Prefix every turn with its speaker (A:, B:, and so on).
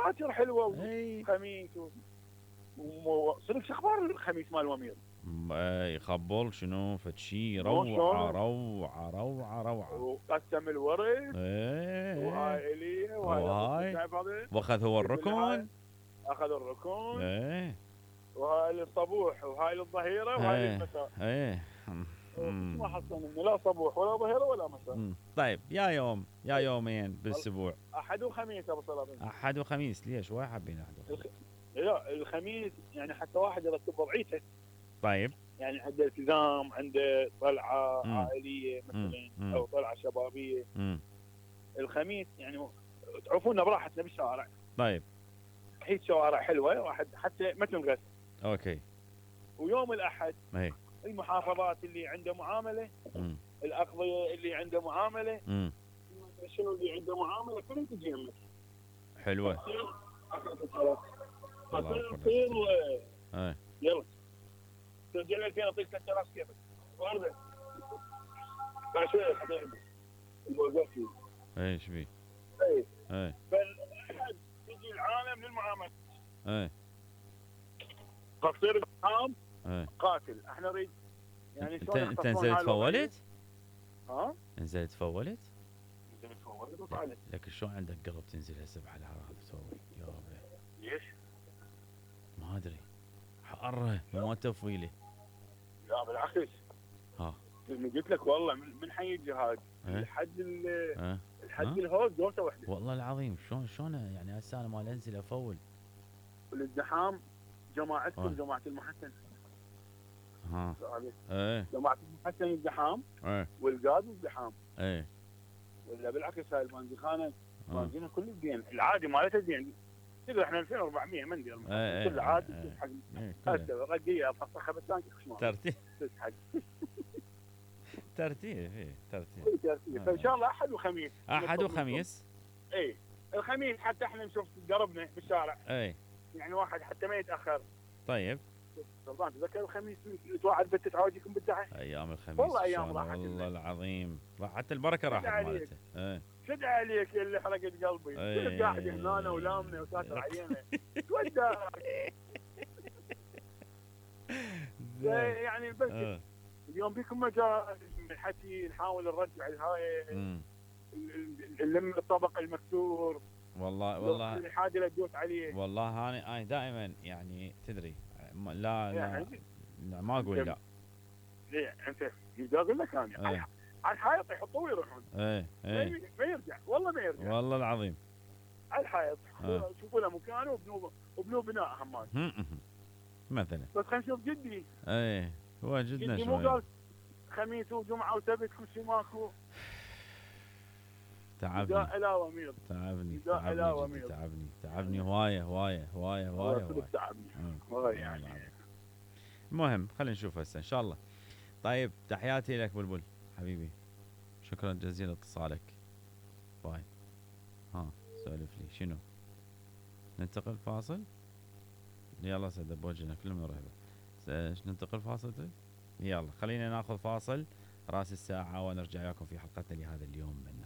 A: باكر حلوه
B: اي
A: وخميس صدق شو اخبار الخميس مال ومير؟
B: يخبل شنو فد شي
A: مو
B: روعه
A: شلون؟
B: روعه روعه روعه.
A: وقسم الورد
B: ايه
A: وهاي الي وهاي
B: وهاي
A: هذا
B: واخذ هو الركن.
A: اخذ الركون
B: ايه
A: وهاي للصبوح وهاي للظهيره وهاي
B: ايه
A: للمساء.
B: ايه
A: ما حصلنا لا صبوح ولا ظهيره ولا مساء.
B: طيب يا يوم يا يومين بالاسبوع.
A: احد وخميس ابو صلاح.
B: احد وخميس ليش واحد حابين احد وخميس؟
A: لا الخميس يعني حتى واحد يرتب وضعيته.
B: طيب
A: يعني عنده التزام، عنده طلعه
B: مم.
A: عائليه مثلا
B: مم.
A: او طلعه شبابيه.
B: امم
A: الخميس يعني تعرفونا براحتنا بالشوارع.
B: طيب
A: حيث شوارع حلوه واحد حتى ما تنغث.
B: اوكي.
A: ويوم الاحد
B: اي
A: المحافظات اللي عنده معامله،
B: امم
A: الاقضيه اللي عنده معامله،
B: امم
A: شنو اللي عنده معامله كلهم تجي يمك.
B: حلوه. الله
A: تصير
B: أكبر.
A: تصير
B: اي
A: يلا ترجع لي 2000 اعطيك 3000 كيفك. ورده بعد شويه حطيت البوزاتي.
B: ايش بيه؟
A: اي
B: اي
A: فالاحد تجي العالم للمعامله.
B: اي
A: فتصير الحام
B: اي
A: قاتل. احنا نريد يعني شلون
B: انت
A: يختصون
B: نزلت
A: هاي الوضعية؟
B: فولت؟
A: ها؟
B: نزلت فولت؟
A: نزلت فولت وطالع.
B: لكن شلون عندك قلب تنزل هسه بحالها هذا تسوي؟ يا ربي
A: ليش؟
B: ما ادري حاره ما تفويله.
A: لا بالعكس.
B: ها
A: قلت لك والله من حي الجهاد
B: إيه؟
A: لحد
B: ها
A: لحد الهوز دوسه واحده.
B: والله العظيم شلون يعني هسه انا مال انزل افول.
A: والازدحام جماعتكم جماعه المحسن.
B: ها ايه
A: جماعه المحسن ازدحام
B: ايه
A: والقاد ازدحام.
B: ايه
A: ولا بالعكس هاي البنزخانه بنزينها كل زين. العادي مالتها زين. تقدر احنا 2400 ما ندير كل عادي تسحق. هسه رقيه افسخها بالتانك خشمال
B: ترتيب
A: تسحق.
B: ترتيب ايه ترتيب.
A: فان شاء الله احد وخميس.
B: احد وخميس.
A: اي الخميس حتى احنا نشوف دربنا بالشارع.
B: اي
A: يعني واحد حتى ما يتاخر.
B: طيب
A: سلطان تذكر الخميس توعد بتتعاوجكم بالدعي.
B: ايام الخميس
A: والله ايام راحت.
B: والله العظيم راحت البركه راحت مالته. ايه
A: شد عليك يا اللي حرقت قلبي. كنت قاعد هنا ولامنا وساتر عينه. توداك. يعني بس اليوم بيكم مجال الحكي نحاول نرجع الهاي نلم الطبق المكسور.
B: والله
A: الحاجه اللي تدوس عليه.
B: والله انا دائما يعني تدري لا
A: يعني
B: ما اقول لا.
A: ليه انت اقول لك انا على الحائط يحطوه ويروحون. ما يرجع والله ما يرجع.
B: والله العظيم
A: على الحائط شوفوا له مكانه وبنوا بناء همات
B: مثلا.
A: بس خلينا نشوف جدي.
B: هو جدنا
A: جدي
B: شوي.
A: مو قال خميس وجمعه وسبت كل شيء ماكو.
B: تعبني
A: ومير.
B: تعبني هوايه
A: تعبني يعني.
B: المهم خلينا نشوف هسه ان شاء الله. طيب تحياتي لك بلبل حبيبي. شكرا جزيلا اتصالك. باي. سولف لي شنو؟ ننتقل فاصل؟ يلا سيدة بوجهنا كلهم رهبة. ننتقل فاصل طيب؟ يلا خلينا ناخذ فاصل راس الساعة ونرجع لكم في حلقتنا لهذا اليوم من